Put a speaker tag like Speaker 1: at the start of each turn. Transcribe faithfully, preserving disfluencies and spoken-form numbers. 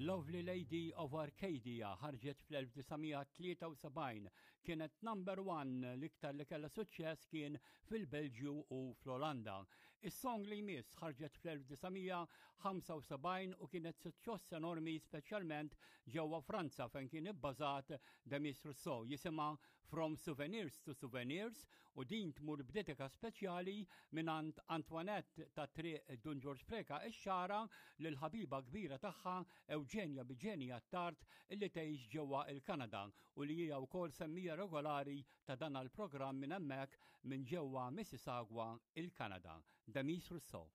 Speaker 1: Lovely Lady of Arcadia ħarġet fl-elf disa' mija tlieta u sebgħin, kienet number one, l-iktar li kella suċċess kien fil-Belġju u fl-Olanda. Is-song li jmiss ħarġet fl-elf disa' mija ħamsa u sebgħin u kienet suċċess enormi, speċjalment ġewwa Franza fejn kien ibbażat Demis Rousseau. Jisimha From Souvenirs to Souvenirs u din tmur b'dedika speċjali mingħand Antoinette ta' Triq Dun Ġorġ Preca ix-Xagħra lil ħabiba kbira tagħha Eugenia Biġeni Attard, illi tgħix ġewwa il-Kanada u li hija wkoll semmiegħa regolari ta' dan il-programm minn hemmhekk minn ġewwa Mississauga, il-Kanada. Demis Rousseau.